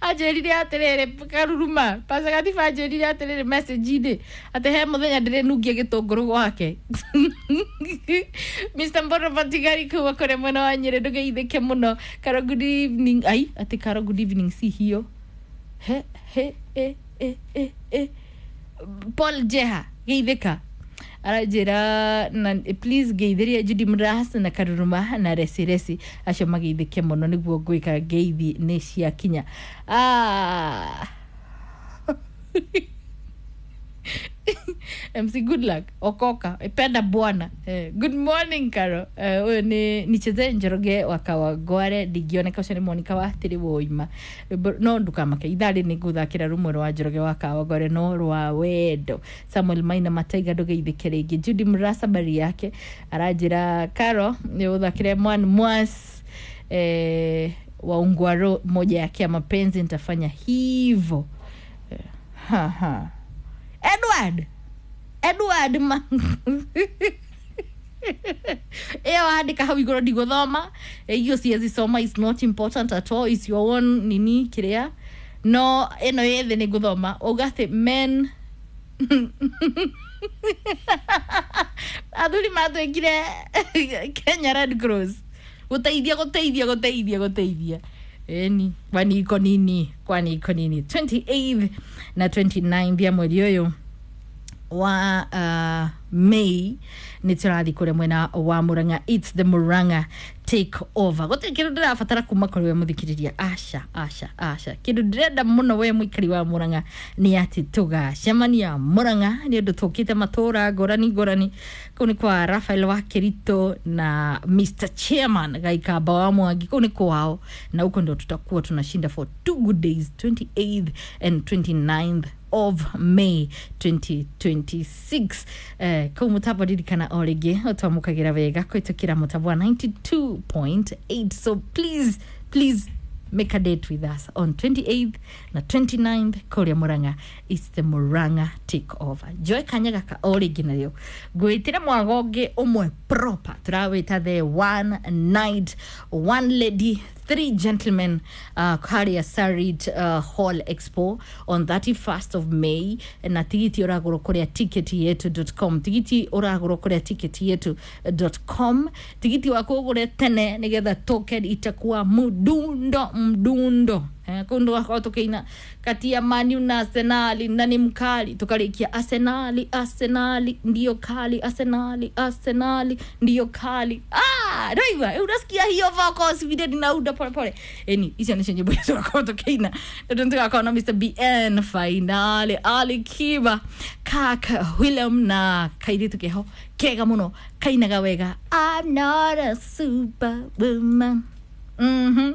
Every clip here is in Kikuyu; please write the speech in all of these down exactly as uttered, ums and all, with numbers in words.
Anjĩrire atĩrĩrĩ, karuruma Pastor Gatiba anjĩrire atĩrĩrĩ message-inĩ atĩ he mũthenya ndĩrĩnungia gĩtũngũrũ gwake. Mister Mboro Matigari kuma kũrĩa mwena wa Nyĩrĩ, ndũgeithĩke mũno. Karo, good evening. Ai, atĩ Karo, good evening, si hiyo. He he e e e e Paul Jeha, geithĩka, aranjĩra na please ngeithĩrie Judy Mras na Karuruma na Resi Resi, acio mageithĩke mũno. Nĩguo ngwĩka, ngeithi nĩ ciakinya. Ah. M C good luck, okoka, penda bwana. Eh, good morning Karo. Eh, ũyũ nĩ nicheze Njoroge wa Kawangware ndingĩoneka. Ũcio nĩ Monica wa tĩrĩ woima. No ndukamake, ithaa rĩ nĩ ngũthakĩra rũmwe rwa Njoroge wa Kawangware no rwa wendo. Samuel Maina Mataiga, ndũgeithĩke rĩngĩ. Judy Mrasa bari yake aranjĩra Karo nĩ ũthakĩre mwan mwas eh, wa Ungwaro moja yake ya mapenzi. Nitafanya hivo. Eh, ha, ha. Edward Edward ma ĩyo andĩka hau igũrũ, ndigũthoma iyo, siwezi soma, is not important at all, is your own nini kĩrĩa, no ĩno ĩ thĩ nĩ ngũthoma. Uga atĩ men athuri matwĩkire Kenya Red Cross gũteithia gũteithia gũteithia gũteithia. Eni, kwani iko nini? Kwani iko nini? twenty-eighth na twenty-ninth ya mweri ũyũ wa uh, May nĩ tũrathiĩ kũrĩa mwena wa Murang'a. It's the Murang'a take over. Gũtirĩ kĩndũ ndĩrabatara kuma kũrĩ we mũthikĩrĩria, aca aca aca. Kĩndũ ndĩrenda mũno we mũikari wa Murang'a nĩ atĩ tũgacemania Murang'a, nĩ ũndũ tũkĩte matũra ngũrani ngũrani. Kũu nĩ kwa Rafael wa Kirito na Mister Chairman Gaikamba wa Mwangi, kũu nĩ kwao, na huko ndio tutakuwa tunashinda for two good days, twenty-eighth and twenty-ninth of May twenty twenty-six. Eh, kau mũtambo, ririkana o rĩngĩ ũtwamũkagĩra wega kũhĩtũkĩra mũtambo wa ninety-two point eight. So please, please make a date with us on twenty-eighth na twenty-ninth kũrĩa Murang'a. It's the Murang'a take over. Joe kanya gaka o rĩngĩ narĩo ngwĩtĩre mwago ũngĩ ũmwe proper, tũrawĩta the one night, one lady, three gentlemen, uh, harĩa Sarit uh, Hall Expo on thirty-first of May. Na tigiti ũragũrwo kũrĩa ticket yetu dot com. Tigiti ũragũrwo kũrĩa ticket yetu dot com. Tigiti waku ũgũre tene nĩgetha token itakuwa mdundo mdundo. Eh, kũu ndũgakorwo tũkĩina kati ya Manu na Arsenali na ni mkali, tukarikia Arsenali, Arsenali ndio kali, Arsenali, Arsenali ndio kali. Ah, ndaigua unasikia hiyo vocals vile ninauda pole pole. Eni, icio nicio nyimbo iria tũgakorwo tũkĩina, tondũ nĩtũgakorwo na Mister B N Finale, Ali Kiba, Kak William na kairitu keho kega mũno kainaga wega, "I'm not a superwoman." mhm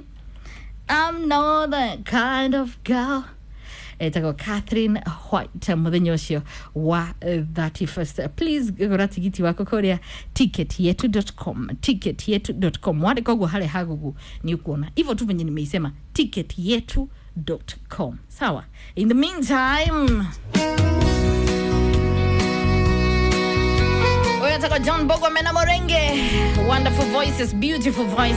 I'm not that kind of girl, etagwo Catherine White. Mũthenya ũcio wa eh, thirty-first, please gũra tigiti waku kũrĩa ticket yetu dot com, ticket yetu dot com. Wandĩka ũguo harĩa ha Google nĩ ũkuona hivyo tu venye nimeisema, ticket yetu dot com. Sawa, in the meantime huyo ataka John Bogwa Mena Morenge. Wonderful voices, beautiful voices.